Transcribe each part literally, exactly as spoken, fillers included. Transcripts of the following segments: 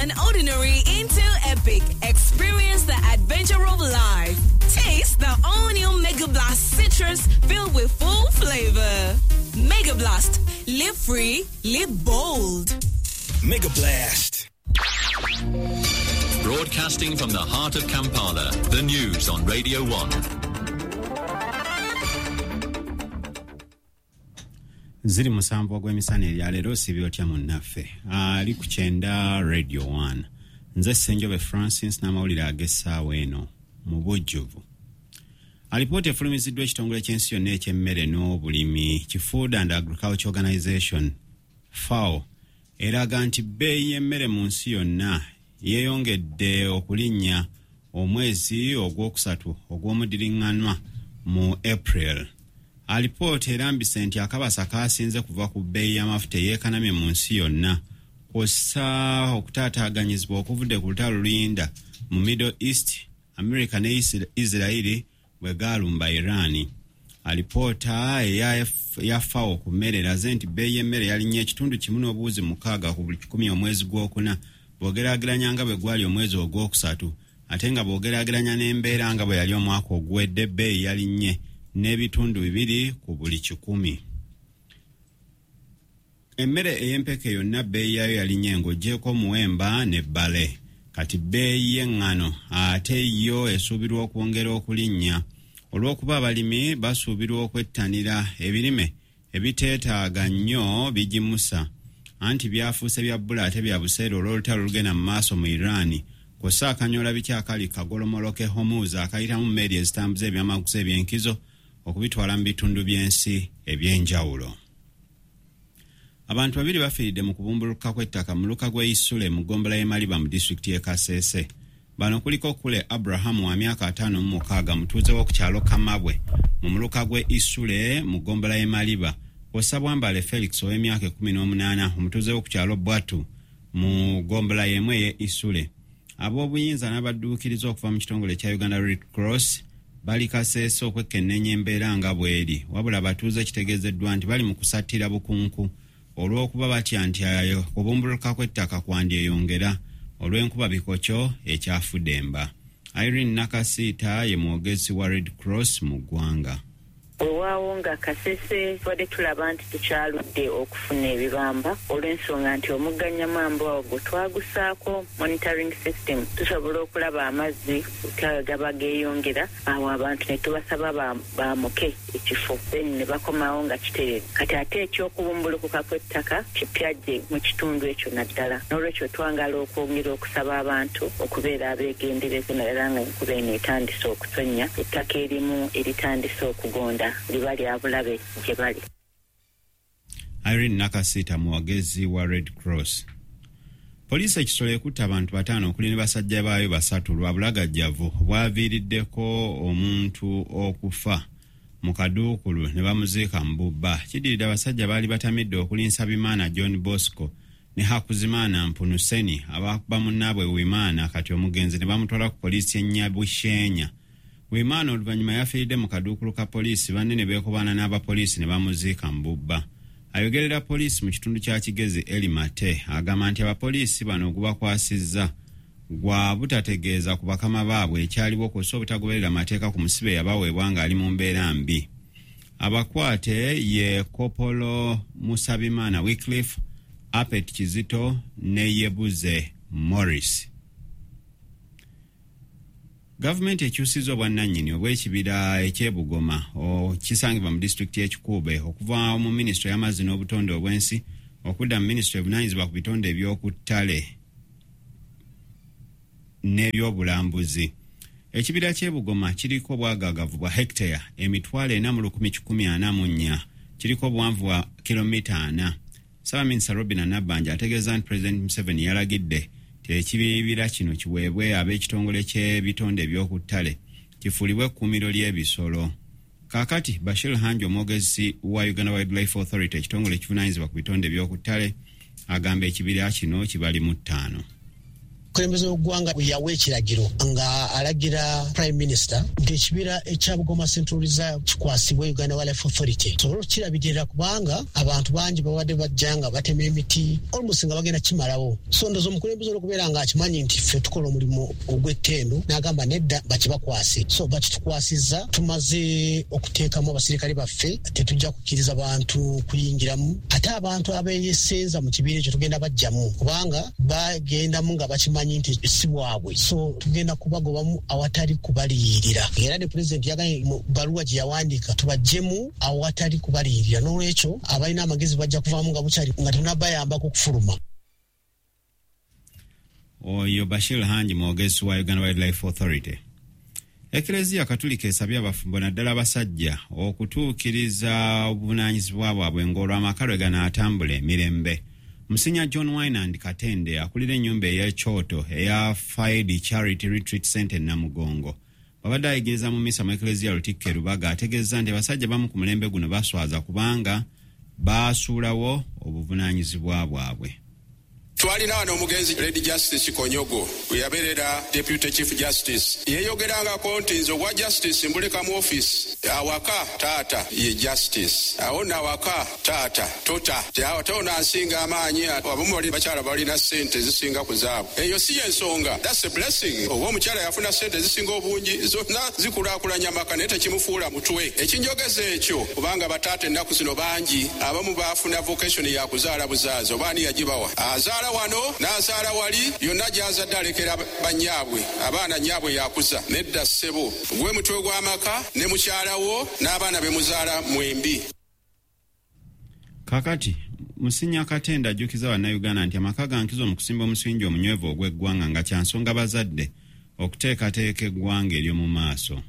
Turn ordinary into epic. Experience the adventure of life. Taste the all-new Mega Blast Citrus filled with full flavor. Mega Blast. Live free, live bold. Mega Blast. Broadcasting from the heart of Kampala, the news on Radio one. Ziri musanvu ogw'emisana erya leero sibi otya munnaffe ali ku kyenda Radio one. Nze Ssenjobe Francis n'amawulire ag'essaawa eno mu bujjuvu. Alipoota efulumiziddwa ekitongole ky'ensi yonna eky'emmere n'obulimi ki Food and Agriculture Organization FAO eraga nti bbeeyi y'emmere mu nsi yonna yeeyongedde okulinnya omwezi ogwokusatu ogw'omudiriŋŋanwa mu April. Alipoota erambise nti akabasa kaasinze kuva ku bbeeyi y'amafuta eyeekanamye mu nsi yonna kw'ossa okutaataaganyizibwa okuvudde ku lutalo luyinda mu Middle East, America ne Israeli bwe gaalumba Iran. Alipoota eya FAO ku mmere eraze nti bbeeyi y'emmere yalinnye ekitundu kimu n'obuwuzi mukaaga ku buli kikumi omwezi gwokuna bw'ogeraageranya nga bwe gwali omwezi ogwokusatu, ate nga bw'ogeraageranya n'embeera nga bwe yali omwaka oguwedde ebbeeyi yalinnye n'ebitundu bibiri ku buli kikumi. Emmere ey'empeke yonna bbeeyi yaayo yalinnye ng'oggyeko omuwemba ne bbale. Kati bbeeyi y'eŋŋano ate yo esuubirwa okwongera okulinnya olw'okuba abalimi basuubirwa okwettanira ebirime ebiteetaaga nnyo bigimusa, anti byafuuse bya bbula ate bya buseere olw'olutalo olugenda mu maaso mu Iran kw'ossa akanyoola biki akali kagolomolo k'e Hormuz akayitamu mmeeri ezitambuza ebyamaguzi eby'enkizo okubitwala mu bitundu by'ensi eby'enjawulo. Abantu babiri bafiiridde mu kubumbulukuka kw'ettaka mu luka gw'e Isule mu ggombolola y'e Maliba mu disitulikiti y'e Kasese. Bano kuliko Kule Abraham wa myaka ataano mu mukaaga mutuuze w'oku kyalo Kamabwe mu muluka gw'e Isule mu ggombolola y'e Maliba, kw'ossa Bwambale Felix ow'emyaka ekkumi n'omunaana omutuuze w'oku kyalo Bwatu mu ggombolola y'emu ey'e Isule. Ab'obuyinza n'abadduukiriza okuva mu kitongole kya Uganda Red Cross bali Kasese okwekenneenya embeera nga bw'eri, wabula abatuuze kitegeezeddwa nti bali mu kusattira bukunku olw'okuba batya nti ayo kubumbuluka kw'ettaka kwandyeyongera olw'enkuba bikokyo ekyafudemba. Irene Nakasiita ye mwogezi wa Red Cross mu ggwanga. Weewaawo nga Kasese tubadde tulaba nti tukyaludde okufuna ebibamba olw'ensonga nti omugga Nyamwamba ogwo twagusaako monitoring system, tusobola okulaba amazzi gaba geeyongera, awo abantu ne tubasaba baamuke ekifo then ne bakomawo nga kitereere. Kati ate ekyokubumbulukuka kw'ettaka kipya gye mu kitundu ekyo naddala, n'olwekyo twangala okwongera okusaba abantu okubeera abeegendereza naddala nga enkuba eno etandise okutonnya, ettaka erimu eritandise okugonda liba lya bulabe gye bali. Irene Nakasiita mwogezi wa Red Cross. Poliisi e Kisolo ekutte abantu bataano okuli ne basajja baayo basatu lwa bulagajjavu bwaviiriddeko omuntu okufa mu kaduukulu ne bamuziika mu bubba. Kiddiridde abasajja baali batamidde okuli Nsabimana John Bosco ne Hakuzimaana Mpunuseni abakuba munnaabwe Wimaana kati omugenzi ne bamutwala ku poliisi e Nyabushenya. Wimaana oluvannyuma yafiiridde mu kaduukulu ka poliisi, banne ne beekobaana n'abapoliisi ne bamuziika mu bubba. Ayogerera poliisi mu kitundu kya Kigezi Eli Mate agamba nti abapoliisi bano gubakwasizza gwa butategeeza ku bakama baabwe ekyaliwo kw'ossa obutagoberera mateeka ku musibe yabaweebwa ng'ali mu mbeera mbi. Abakwate ye Kopolo Musabimana Wycliffe, Apet Kizito ne Yebuze Morris. Gavumenti ekyusizza obwannannyini obw'ekibira eky'e Bugoma kisangibwa mu disitulikiti y'e Kikuube okuva mu minisitule y'amazzi n'obutonde obw'ensi okudda mu minisitule evunaanyizibwa ku bitonde eby'oku ttale n'ebyobulambuzi. Ekibira ky'e Bugoma kiriko obwagaagavu bwa hekiteya emitwalo ena mu lukumi kikumi ana mu nnya, kiriko obuwanvu bwa kilomita ana. Ssaabaminisita Robinah Nabbanja ategeeza nti Pulezidenti Museveni yalagidde nti ekibira kino kiweebwe ab'ekitongole ky'ebitonde eby'oku ttale kifuulibwe ekkuumiro ly'ebisolo. Kaakati Bashir Hangi, omwogezi wa Uganda Wildlife Authority, ekitongole ekivunaanyizibwa ku bitonde eby'oku ttale, agamba ekibira kino kibali mu ttaano. Omukulembeze w'eggwanga yawa ekiragiro nga alagira Prime Minister nti ekibira ekya Bugoma Central Reserve kikwasibwe Uganda Wildlife Authority tusobole okukirabirira, kubanga abantu bangi babadde bajja nga batema emiti almost nga bagenda kimalawo. So ndowooza omukulembeze olw'okubeera nga akimanyi nti ffe tukola omulimu ogw'ettendo, n'agamba nedda bakibakwase. So bakitukwasizza, tumaze okuteekamu abasirikale baffe, tetujja kukkiriza bantu kuyingiramu, ate abantu abeeyesenza mu kibira ekyo tugenda bajjamu, kubanga bagendamu nga bakimanyi nti si bwabwe. So tugenda kubagobamu awatali kubaliyirira. Era ne pulezidenti yagambye mu bbaluwa gye yawandiika tubaggyemu awatali kubaliyirira. N'olwekyo abalina amagezi bajja kuvaamu nga bukyali, nga tetunabayambako okufuluma. Oyo Bashir Hanji, mwogezi wa Uganda Wildlife Authority. Eklezia Katulika esabye abafumbo naddala abasajja okutuukiriza obuvunaanyizibwa bwabwe ng'olw'amaka lwe ganaatambula emirembe. Musinya John Winand Katende akulira ennyumba ey'ekyoto eya Fide Charity Retreat Center e Namugongo babadde ayigiriza mu misa mu Eklezia Lutikko e Lubaga, ategeeza nti abasajja bamu ku mulembe guno baswaza kubanga baasuulawo obuvunaanyizibwa bwabwe. Twalina wano omugenzi Lady Justice Konyogo, we yabeerera Deputy Chief Justice. Yeeyogerangako nti nze ogwa Justice mbuleka mu office, awaka taata ye Justice, awo nno awaka taata tota ate ono ansinga amaanyi. Abamu bali bakyala balina ssente ezisinga ku zaabwe, eyo si y'ensonga. That's a blessing. Oba omukyala yafuna ssente ezisinga obungi, zonna zikulaakulanya amaka, naye tekimufuula mutwe. Ekinjogeza ekyo kubanga bataata ennaku zino bangi abamu baafuna vocation ya kuzaala buzaazi, oba ani yagibawa, azaala wano n'azaala wali, yonna gy'azadde alekera bannyaabwe, abaana nnyaabwe yakuza. Nedda ssebo, gwe mutwe gw'amaka ne mukyala wo n'abaana be muzaala mwembi. Kakati Musinya Katende ajjukiza Bannayuganda nti amaka ga nkizo mu kusimba omusingi omunywevu ogw'eggwanga, nga kya nsonga bazadde okuteekateeka eggwanga ery'omu maaso.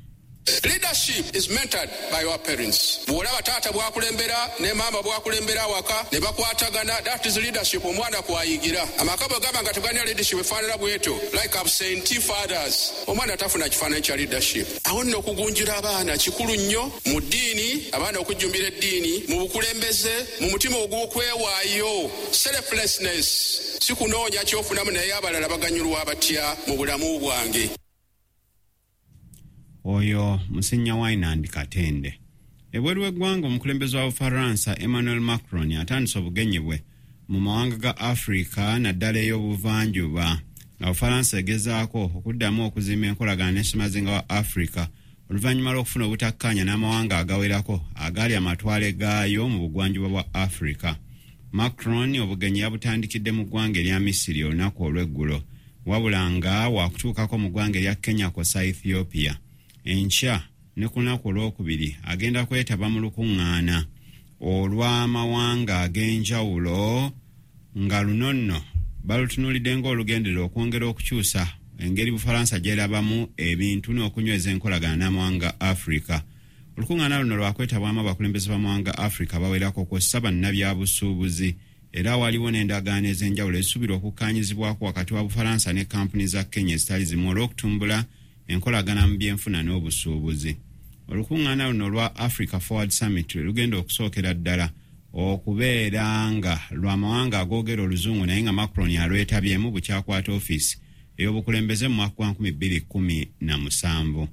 Leadership is mentored by your parents. Bw'olaba taata bw'akulembera ne maama bw'akulembera awaka ne bakwatagana, that is leadership omwana kw'ayigira. Amaka bwe gaba nga tegalina leadership efaanana bw'etyo, like absentee fathers, omwana tafuna kifaananyi kya leadership. Awo nno okugunjula abaana kikulu nnyo mu ddiini, abaana okujjumbira eddiini, mu bukulembeze, mu mutima ogw'okwewaayo, selflessness, si kunoonya ky'ofunamu naye abalala baganyulwa batya mu bulamu bwange. Oyo Musinya Winand Katende. Ebweru w'eggwanga, omukulembeze wa Bufaransa Emmanuel Macron atandise obugenyi bwe mu mawanga ga Afrika naddala ey'obuvanjuba, nga Bufaransa egezaako okuddamu okuzimba enkolagana ne ssemazinga wa Afrika oluvannyuma lw'okufuna obutakkaanya n'amawanga agawerako agaali amatwale gaayo mu bugwanjuba bwa Afrika. Macron obugenyi yabutandikidde mu ggwanga erya Misiri olunaku olw'eggulo, wabula nga wakutuukako mu ggwanga erya Kenya kw'ossa Ethiopia. Enkya ne ku lunaku olwokubiri agenda kwetaba mu lukuŋŋaana olw'amawanga ag'enjawulo, nga luno nno balutunuulidde ng'olugenderera okwongera okukyusa engeri Bufalansa gy'erabamu ebintu n'okunyweza enkolagana n'amawanga Afrika. Olukuŋŋaana luno lwakwetabwamu abakulembeze b'amawanga Afrika bawerako kw'ossa bannabyabusuubuzi, era waliwo n'endagaano ez'enjawulo ezisuubirwa okukkaanyizibwako wakati wa Bufalansa ne kampuni za Kenya ezitali zimu olw'okutumbula enkolagana mu byenfuna n'obusuubuzi. Olukuŋŋaana luno olwa Africa Forward Summit lugenda okusookera ddala okubeera nga lw'amawanga agoogera oluzungu, naye nga Macron alwetabyemu bukyakwata ofiisi ey'obukulembeze mu mwaka gwa nkumi bbiri kkumi na musanvu.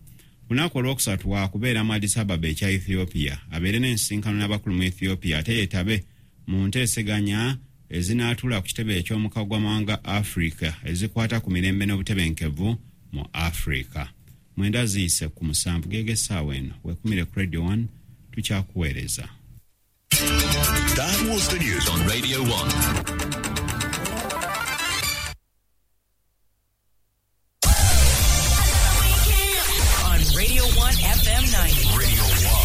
Lunaku olwokusatu waakubeera mu Addis Ababa ekya Ethiopia, abeere n'ensisinkano n'abakulu mu Ethiopia, ate yeetabe mu nteeseganya ezinaatuula ku kitebe eky'omukago gw'amawanga Africa ezikwata ku mirembe n'obutebenkevu mu Afrika. Mwenda ziyise ku musanvu geege essaawa eno, weekumire ku Radio one, tukyakuweereza. That was the news on Radio one.